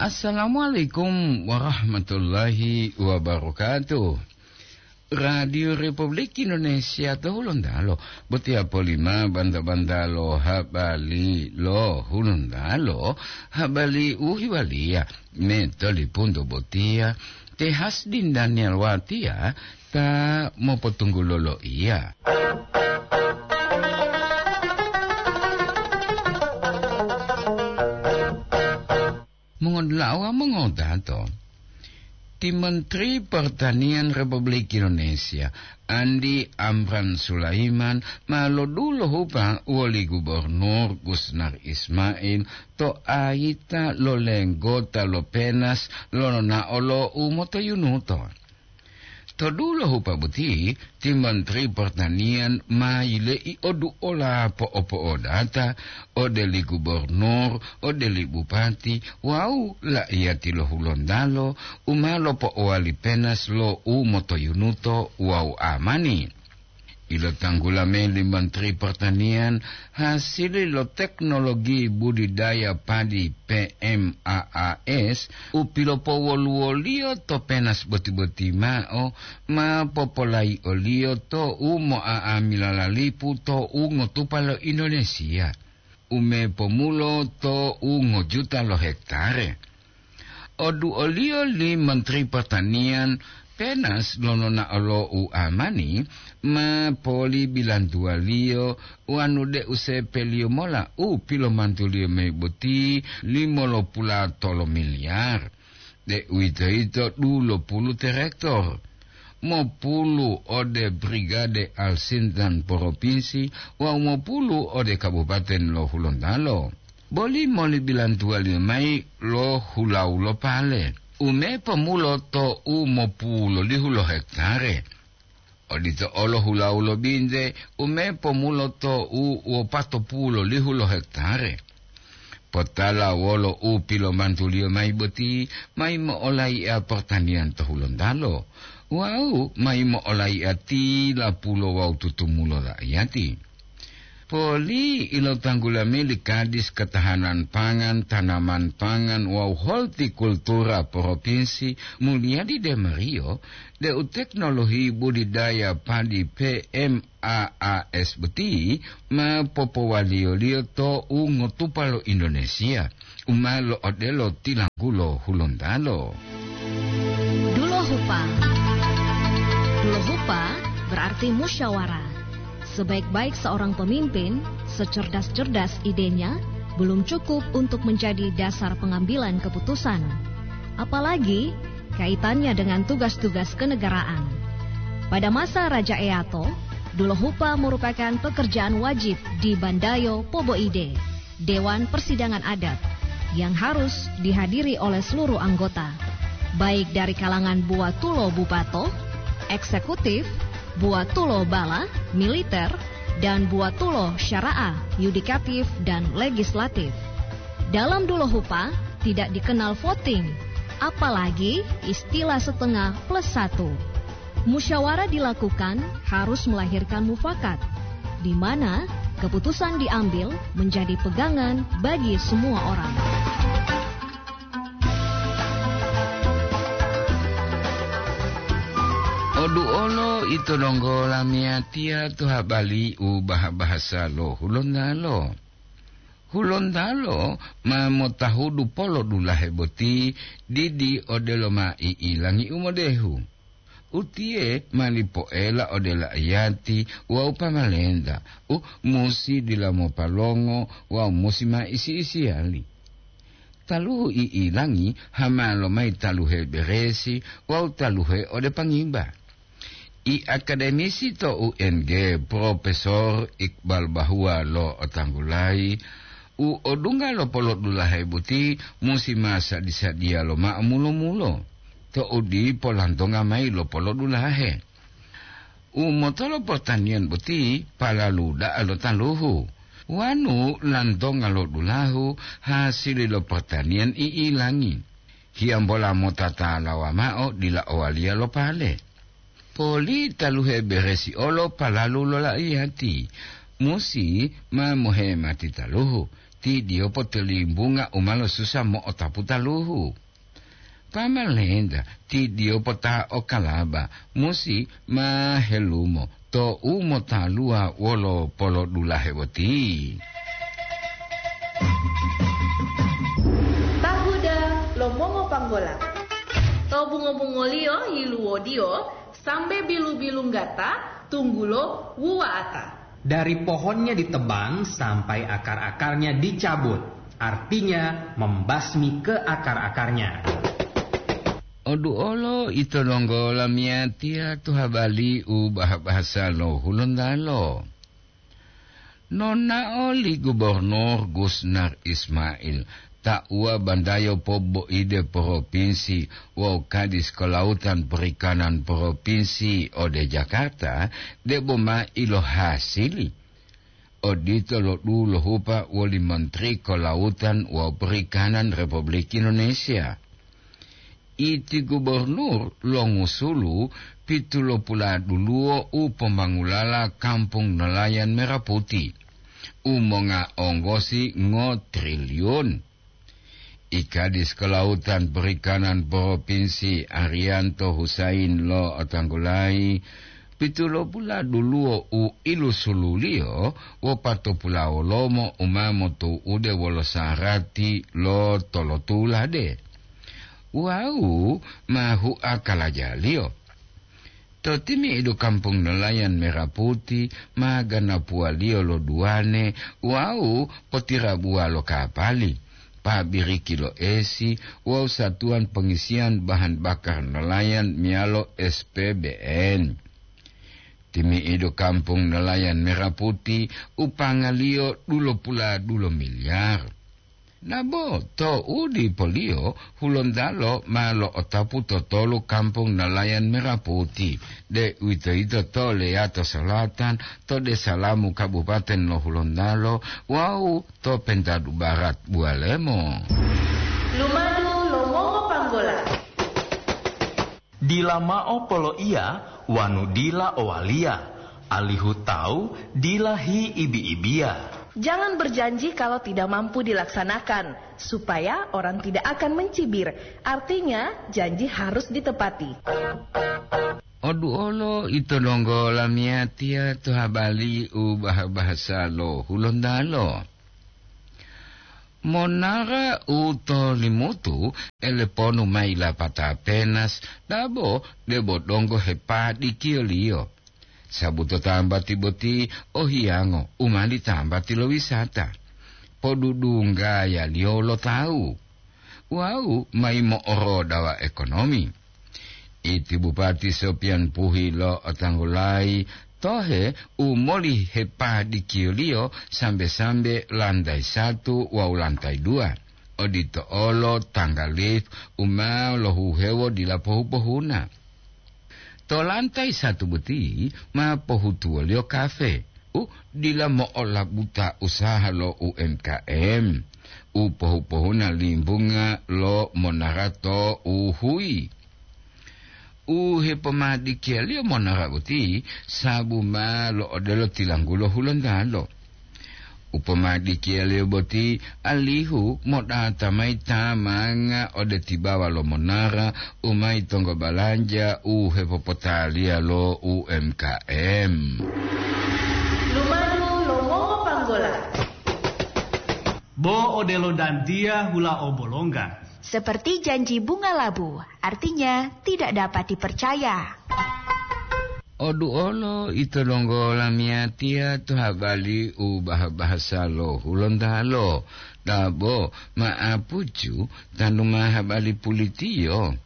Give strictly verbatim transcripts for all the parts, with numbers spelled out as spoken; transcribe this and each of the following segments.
Assalamualaikum warahmatullahi wabarakatuh. Radio Republik Indonesia to Hulontalo, botiya polima banta-banta lo habari lo Hulontalo, habari u hiwaliya me tolipunto botiya, te Hasdin Daniel Watiya ta mopotunggulo loiya. Mongodula'a wawu mongodato, ti Menteri Pertanian Republik Indonesia, Andi Amran Sulaiman, ma lodulohupa woli Gubernur Gusnar Ismail to ayita lo lenggota lo Penas lonao lo u motoyunuto. To dulo hupa boti, ti Menteri Pertanian ma yile'i oduola po'opo'odata ode li gubernur, ode li bupati, wawu la'iyati lo Hulontalo u ma lopo'owali penas lo u motoyunuto wawu amani. Ilotanggula mayi li Menteri Pertanian hasili lo teknologi budidaya padi P M A A S u pilopowoluwoliyo to penas boti-boti mao ma popolayi'oliyo to u mo'a'amila lalipu to u ngotupa lo Indonesia, u mepomulo to u ngojuta lo hektare. Oduoliyo li Menteri Pertanian, penas lononao lo u amani ma polibilantuwaliyo wanu deu sepeliyo mola u pilomantuliyo mayi boti limolopula tolo miliar, deuwitoyito dulopulu terektor, mopulu ode Brigade Alsintan Propinsi wawu mopulu ode Kabupaten lo Hulontalo. Boli moli bilantuwaliyo mayi lo hulawu lo pale, u mepomulo to u mopulolihu lo hektare. Odito olo hulawu lo binte, u mepomulo to u wopatopulolihu lo hektare. Potala wolo u pilomantuliyo mayi boti, mayi mo'olai'a portaniyan to Hulontalo, wawu mayi mo'olai'a tilapulo wawu tutumulo la'iyati. Poli ilotanggula mayi li Kadis Ketahanan Pangan, Tanaman Pangan wawu Holtikultura Propinsi Mulyadi Demario, deu teknologi budidaya padi P M A A S boti ma popowaliyoliyo to u ngotupa lo Indonesia, u ma lo'odelo tilanggulo Hulontalo. Dulohupa. Dulohupa berarti musyawarah. Sebaik-baik seorang pemimpin, secerdas-cerdas idenya, belum cukup untuk menjadi dasar pengambilan keputusan, apalagi kaitannya dengan tugas-tugas kenegaraan. Pada masa Raja Eato, Dulohupa merupakan pekerjaan wajib di Bandayo Poboide, Dewan Persidangan Adat, yang harus dihadiri oleh seluruh anggota, baik dari kalangan buatulo bupato, eksekutif, buatulo bala, militer, dan buatulo syara'ah, yudikatif, dan legislatif. Dalam Dulohupa tidak dikenal voting, apalagi istilah setengah plus satu. Musyawarah dilakukan harus melahirkan mufakat, di mana keputusan diambil menjadi pegangan bagi semua orang. Oduolo ito donggo lamiyatiya to habali u baha-bahasa lo Hulontalo. Hulontalo ma motahudu polodulahe boti didi odelo ma i'ilangi u modehu. Utiye ma lipoela ode la'iyati wawu pamalenta u musi dila mopalongo wawu musi ma isi-isiyali. Taluhu i'ilangi hama lomayi taluhe beresi wawu taluhe ode pangiba. I akademisi to U N G, Profesor Iqbal Bahua lo'otanggulayi, u odungga lo polodulahe boti musi ma sadi-sadiya lomao mulo-mulo, to'u dipo lantonga mayi lo polodulahe. U motolo portaniyan boti palalu da'a lo taluhu, wanu lantonga lo dulahu hasili lo portaniyan i'ilangi. Hiyambola mota talawa mao dila owaliya lo pale. Poli taluhe beresi olo palalu lo la'iyati, musi ma mohemati taluhu, Ti diyopo tolimbunga u ma losusa mo'otapu taluhu. Pamalenta, ti diyopo ta o kalaba, musi ma helumo to u motaluwa wolo polodulahe boti. Tahuda lo mongopanggola. To bungo-bungoliyo yiluwodiyo sambe bilu-bilunggata, tunggulo wuwa'ata. Dari pohonnya ditebang sampai akar-akarnya dicabut, artinya membasmi ke akar-akarnya. Oduolo ito donggo lamiyatiya to habali u bahasa lo Hulontalo. Nonao li Gubernur Gusnar Ismail, tauwa bandayo poboide propinsi wawu Kadis Kelautan Perikanan Propinsi ode Jakarta, debo ma ilohasili. Odito lo dulohupa woli Menteri Kelautan wawu Perikanan Republik Indonesia. Iti gubernur longusulu pitulopula duluwo u pomangulala Kampung Nelayan Merah Putih, u monga onggosi ngo triliun. I Kadis Kelautan Perikanan Propinsi Arianto Husain lo'otanggulayi, pitulopula duluwo u ilusululiyo wopatopulawolomo u ma motu'ude wolo sarati lo tolotulade. Wawu ma hua kalajaliyo. To timi'idu Kampung Nelayan Merah Putih ma ganapuwaliyo lo duwane wawu potirabuwa lo kapali, pabiriki lo esi wawu satuwan pengisiyan bahan bakar nelayan meyalo S P B N. Timi'idu Kampung Nelayan Merah Putih upangaliyo dulopula-dulo miliar. Nabo to udipoliyo, Hulontalo ma lo'otapu to tolu Kampung Nelayan Merah Putih, deuwitoyito to Leyato Selatan, to Desa Lamu Kabupaten lo Hulontalo wawu to Pentadu Barat Buwalemo. Lumadu lo mongopanggola. Dila mao poloiya wanu dila owaliya, alihu tawu dila hiibi-ibiya. Jangan berjanji kalau tidak mampu dilaksanakan, supaya orang tidak akan mencibir. Artinya, janji harus ditepati. Oduolo ito donggo lamiyatiya to habali u bah-bahasa lo Hulontalo. Monara u to Limutu eleponu mayi lapata penas, dabo debo donggo hepadikiyoliyo. Sabuto tambati boti o hiyango u mali tambati lo wisata, podudunggayaliyo lo tawu, wawu mayi mo'orodawa ekonomi. Iti Bupati Sopian Puhi lo'otanggulayi tohe u moli hepadikiyoliyo sambe-sambe lantai satu wawu lantai dua, odito olo tangga lift u ma lohuhewo dila pohu-pohuna. To lantai satu boti ma pohutuwoliyo kafe u dila mo'olabuta usaha lo U M K M, u pohu-pohuna limbunga lo monara to uhuyi. U hepomadikiyaliyo monara boti sabu ma lo'odelo tilanggulo Hulontalo. U pomadikiyaliyo boti alihu modata mayi tamanga ode tibawa lo monara u mayi tonggo balanja u hepopotaliya lo U M K M. Lumadu lo mongopanggola. Bo odelo dantiya hula o bolongga. Seperti janji bunga labu, artinya tidak dapat dipercaya. Oduolo ito donggo lamiyatiya to habali u bah-bahasa lo Hulontalo, dabo ma'apucu tanu ma habali pulitiyo.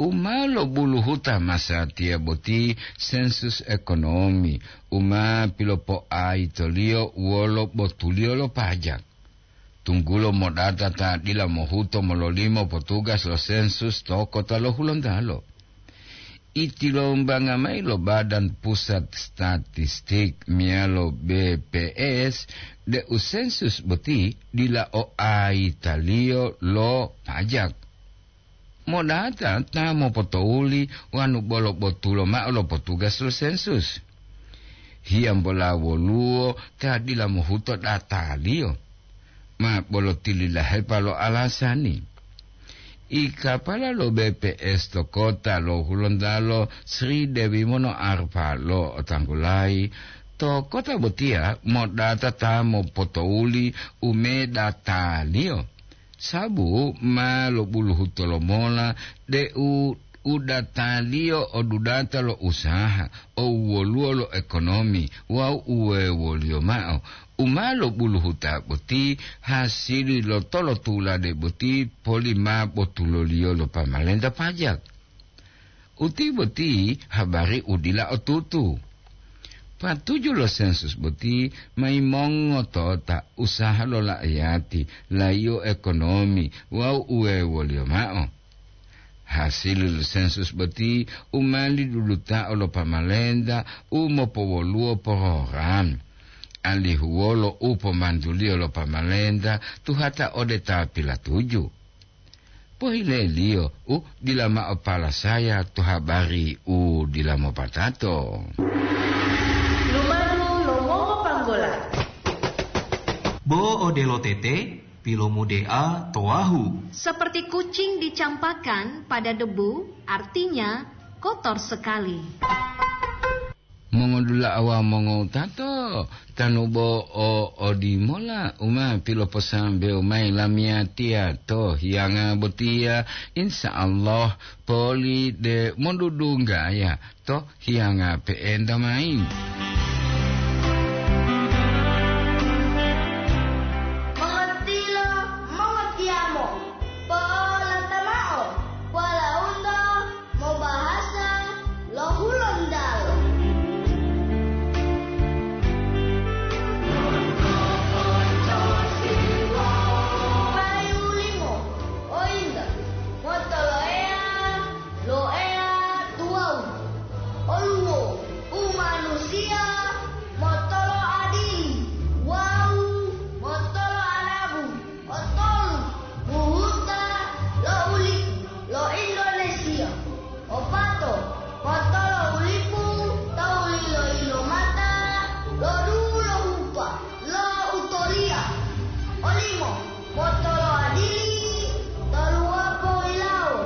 U ma lobuluhuta masatiya boti sensus ekonomi u ma pilopoaitoliyo wolo botuliyo lo pajak. Tunggulo modata ta dila mohuto mololimo potugas lo sensus to kota lo Hulontalo. Itilombangan mayi lo Badan Pusat Statistik meyalo B P S deu sensus boti dila o aitaliyo lo pajak. Modata ta mopotouli wanu bolo botulo mao lo potugas lo sensus. Hiyambola woluwo ta dila mohuto dataliyo? Ma bolo tililahepa lo alasani. I kapala lo B P S to kota lo Hulontalo Sri Dewi Mono Arfa lo otanggulayi, to kota botiya modata ta mopotouli u medataliyo. Sabu ma lobuluhu tolomola deu u dataliyo o dudata lo usaha, o wuwoluwo lo ekonomi wawu uwewoliyo mao. U ma lobuluhuta boti hasili lo tolotulade boti poli ma botuloliyo lo pamalenta pajak. Uti boti habari u dila otutu. Patuju lo sensus boti ma yimongotota usaha lo la'ayati, layiyo ekonomi wawu uwewoliyo mao. Hasili lo sensus boti u ma lidudutao lo pamalenta u mopowoluwo porogram, alihu wolo u pomantuliyo lo pamalenta tuhata ode ta pilatuju. Pohileliyo u dila mao palasaya to habari u dila mopatato. Lumadu lo mongopanggola. Bo odelo tete, pilomudea to wahu. Seperti kucing dicampakkan pada debu, artinya kotor sekali. Mongodula'a wawu mongotato, tanu bo o odimola u ma piloposambewo mayi lamiyatiya to hiyanga botiya, insya Allah poli de mondudunggaya to hiyanga pe'enta mayi.